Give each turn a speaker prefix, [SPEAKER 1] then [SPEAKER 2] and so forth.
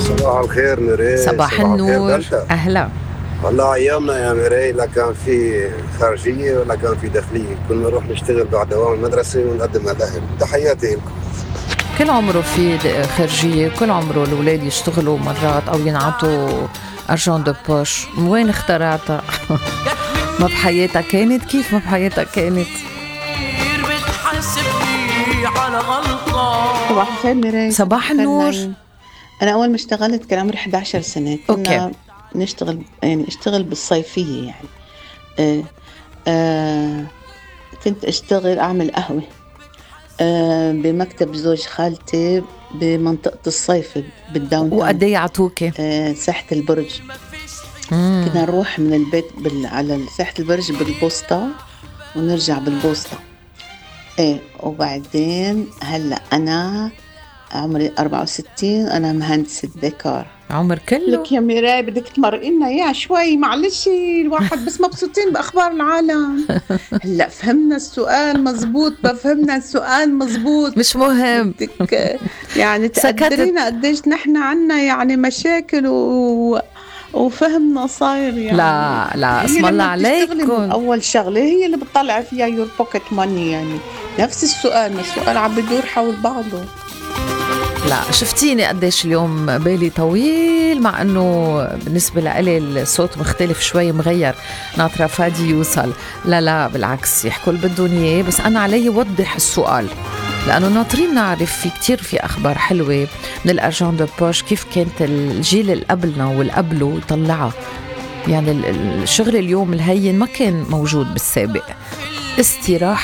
[SPEAKER 1] صباح الخير ميري.
[SPEAKER 2] صباح النور.
[SPEAKER 1] دلتا.
[SPEAKER 2] أهلا.
[SPEAKER 1] والله ايامنا يا ميري لا كان في خارجيه ولا كان في داخليه، كنا نروح نشتغل بعد دوام المدرسه ونقدم على الاهل. تحياتي لكم.
[SPEAKER 2] كل عمره في خارجية، كل عمره الأولاد يشتغلوا مرات أو ينعطوا أرجون دو بوش. وين اخترعتها؟ ما بحياتها كانت؟ كيف ما بحياتها كانت؟
[SPEAKER 3] صباح الخير ميري.
[SPEAKER 2] صباح النور.
[SPEAKER 3] أنا أول ما اشتغلت كان عمري 11 سنة. كنا نشتغل اشتغل بالصيفية يعني. كنت أشتغل أعمل قهوة بمكتب زوج خالتي بمنطقة الصيف بالداون تاون.
[SPEAKER 2] وقد ايه عطوكي؟
[SPEAKER 3] ساحة البرج. كنا نروح من البيت على ساحة البرج بالبوسطة ونرجع بالبوسطة. وبعدين هلأ أنا عمري 64، أنا مهندسة ديكور.
[SPEAKER 2] عمر كله
[SPEAKER 3] لك يا ميراي بدك تمرقينا اياه شوي، معلش الواحد بس مبسوطين بأخبار العالم. هلأ فهمنا السؤال مزبوط، بفهمنا السؤال مزبوط،
[SPEAKER 2] مش مهم.
[SPEAKER 3] بدك يعني تقدرينا قديش نحن عنا يعني مشاكل وفهمنا صاير يعني.
[SPEAKER 2] لا اسم الله عليكم.
[SPEAKER 3] أول شغلة هي اللي بتطلع فيها يور بوكيت ماني، يعني نفس السؤال، ما السؤال عم بدور حول بعضه.
[SPEAKER 2] لا شفتيني قديش اليوم بالي طويل، مع انه بالنسبة لإلي الصوت مختلف شوي مغير، ناطرة فادي يوصل. لا بالعكس، يحكوا اللي بدهم اياه، بس انا علي وضح السؤال لانه ناطرين نعرف. في كتير في اخبار حلوة من الارجون دو بوش، كيف كانت الجيل اللي قبلنا واللي قبله يطلعها. يعني الشغل اليوم الهين ما كان موجود بالسابق. استراحة